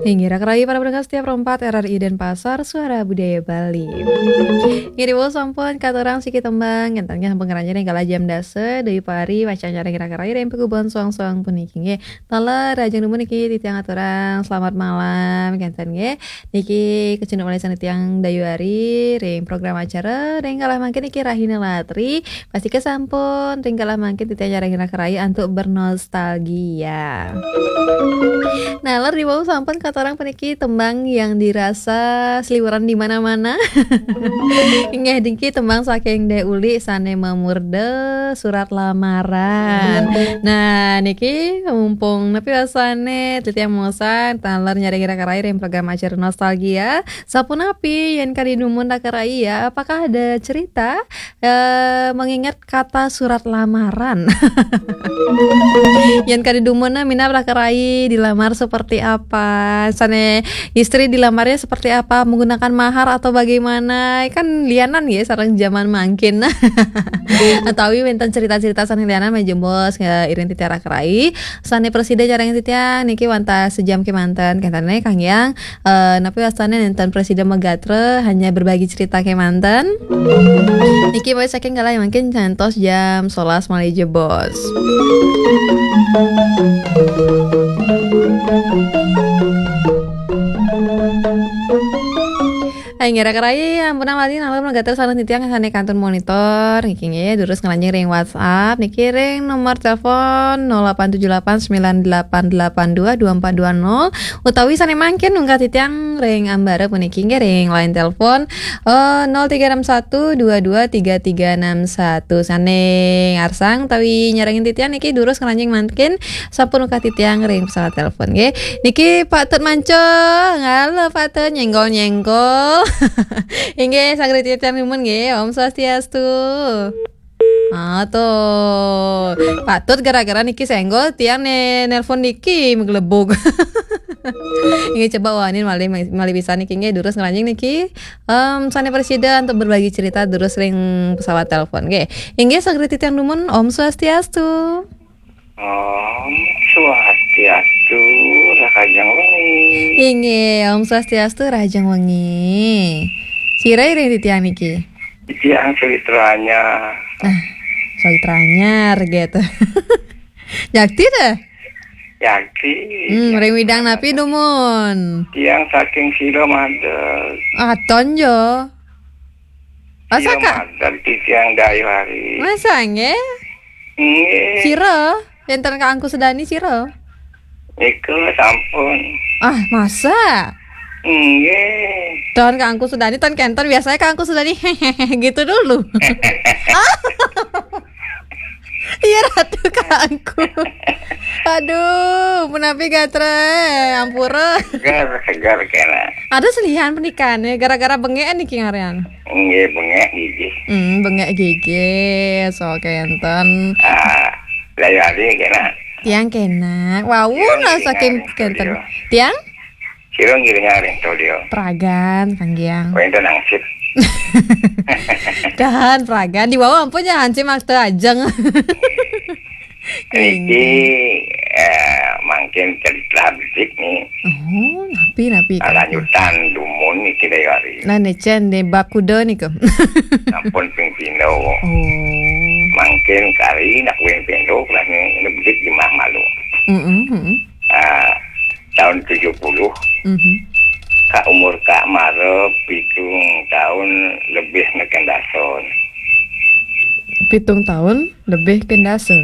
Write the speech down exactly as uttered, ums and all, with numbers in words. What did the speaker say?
Inggih, raka rayi para pendengar setia Pro empat R R I Denpasar, Suara Budaya Bali. Inggih, diwau sampun katurang siki tembang, kénten nggih sampun ngranjing ring galah jam dasa, duwé pari, wacana ring raka rayi ring pagubuhan soang-soang puniki nggih. Taler, rahajeng dumun niki titiang aturang selamat malam, kénten nggih. Niki kacunduk malih sané tiang Dayu Ari ring program acara, ring galah mangkin niki Rahina Latri, pastika sampun ring galah mangkin titiang nyarengin raka rayi antuk bernostalgia. Nah, ler diwau sampun katurang puniki tembang yang dirasa seliweran di mana-mana. Inggih niki tembang saking Dék Uli sané mamurda surat lamaran. Nah, niki mumpung napi wastané titiang maosang taler nyarengin raka rayi ring program acara nostalgia. Sapunapi yén kadi dumun raka rayi ya, apakah ada cerita eh, mengingat kata surat lamaran? Yén kadi dumun minab raka rayi dilamar seperti apa? Sané istri dilamarnya seperti apa? Menggunakan mahar atau bagaimana? Kan lianan ya sareng zaman mangkin. Atawi wénten cerita-cerita sané lianan malih jebos ya iring titiang raka rayi. Sané prasida nyarengin titiang niki wantah sejam kémanten. Kénten nggih Kang Yang. Eh, napi wastané nénten prasida magatra, hanya berbagi cerita kémanten. Niki malih saking galah mangkin ngantos jam sebelas malih jebos. Hai, ngira kerai, ampunang lali nalem gatra sareng titiang sané kantun monitor. Niki nggih, durus ngranjing ring WhatsApp. Niki ring nomor telepon nol delapan tujuh delapan sembilan delapan delapan dua dua empat dua nol. Utawi sané mangkin nungkah titiang ring ambara puniki nggih ring line telepon, eh, nol tiga enam satu dua dua tiga tiga enam satu. Sané ngarsang utawi nyarengin titiang niki durus ngranjing mangkin sampun nungkah titiang ring pesawat telepon nggih. Niki Pak Tut Mancung. Halo Pak Tut, nyenggol-nyenggol. Inggih, saged titiang dumun nggih. Om Swastiastu. Ah, tuh. Patut gara-gara niki senggol tiang né nelpon niki maglebug. Inggih coba wanin malih malih pisan niki nggih durus ngranjing niki. Em, sané prasida untuk berbagi cerita durus ring pesawat telepon nggih. Inggih saged titiang dumun Om Swastiastu. Om Swastiastu, rahajeng wengi. Inggih, Om Swastiastu, rahajeng wengi. Sira iring titiang niki? Titiang Sawitra Anyar. Ah, Sawitra Anyar gitu. Jakti ta? Jakti. Hmm, ring widang napi dumun? Tiang saking Sira Madeg. Aton jo. Masa Sira Kak? Madeg titiang Dayu Ari. Masa nggih? Nggih. Sira? Wénten Kak Angku Sedani sira? Niku sampun. Ah, masa? Nggih. Don Kak Angku Sedani, ton kénten biasanya Kak Angku Sedani gitu dulu. Iya, Ratu Kak Angku. Aduh, punapi gatra, ampura. Segar, segar kena. Ada selihan pernikahannya gara-gara bengek niki ngaran. Nggih, bengek gigi. Hmm, bengek gigi. So kénten. Ah, Dayu Ari kena. Tiang kena. Wau. Tiang lah ngiring saking ngiring kénten. Studio. Tiang? Sira ngiring ring studio. Pragan, Kang Giang. Wénten hansip. Dan pragan dibawa ampun ya hansip makta ajeng. Niki eh, mangkin cerita bedik nih. Oh, napi napi. Nah, lanjutan dumun niki Dayu Ari. Nah, nécén deh bab kuda niku. Sampun ping pindho. Oh. Mangkin kari nak ping pindho, lah ini bedik di mah malu. Mm-mm, mm-mm. Ah, tahun tujuh puluh, mhm. Ka umur Kak Mara pitung tahun lebih neken dason. Pitung tahun lebih kendasa.